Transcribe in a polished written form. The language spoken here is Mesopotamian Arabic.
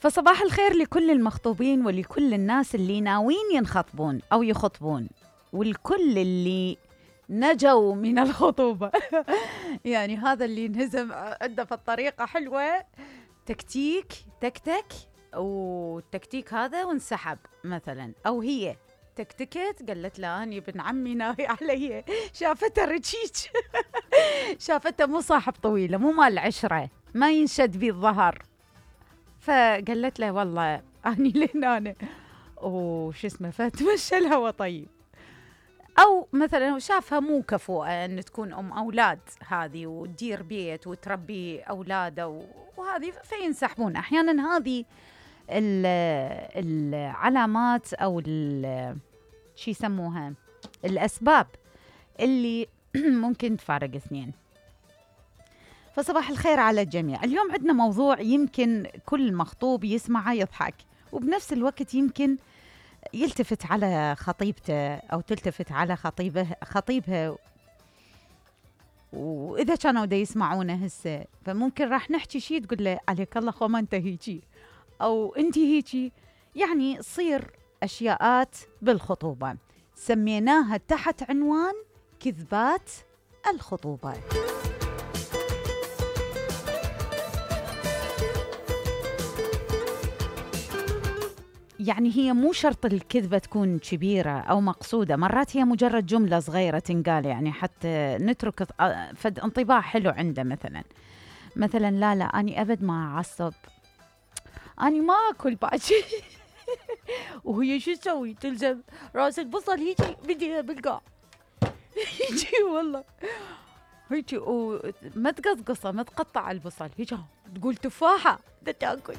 فصباح الخير لكل المخطوبين ولكل الناس اللي ناويين ينخطبون أو يخطبون، والكل اللي نجوا من الخطوبة. يعني هذا اللي انهزم عنده في الطريقة حلوة، تكتيك تكتك، والتكتيك هذا وانسحب مثلا، أو هي تكتكت قالت له أني ابن عمي ناوي علي، شافته رجيج. شافته مو صاحب طويلة، مو مال عشرة، ما ينشد بي الظهر، فقالت له والله أني لين أنا وش اسمه، فتمشى الهوى. طيب، أو مثلا شافها مو كفؤة أن تكون أم أولاد هذه وتدير بيت وتربي أولاده وهذه، فينسحبون. أحيانا هذه العلامات أو شي يسموها الأسباب اللي ممكن تفارق اثنين. فصباح الخير على الجميع. اليوم عندنا موضوع يمكن كل مخطوب يسمعه يضحك، وبنفس الوقت يمكن يلتفت على خطيبته أو تلتفت على خطيبها، وإذا كانوا دا يسمعونه هسه فممكن راح نحكي شي تقول له عليك الله خو ما أنت هيجي أو أنت هيجي. يعني تصير أشياءات بالخطوبة سميناها تحت عنوان كذبات الخطوبة. يعني هي مو شرط الكذبة تكون كبيرة أو مقصودة، مرات هي مجرد جملة صغيرة تنقال يعني حتى نترك فد انطباع حلو عنده. مثلا لا أني أبد ما أعصب، أني ما أكل باجي. وهي شو تسوي؟ تلزم راس البصل هيجي بدي بالقاع. هيجي والله هيجي، وما تقصقصه، ما تقطع البصل، هيجي تقول تفاحة دا تاكل.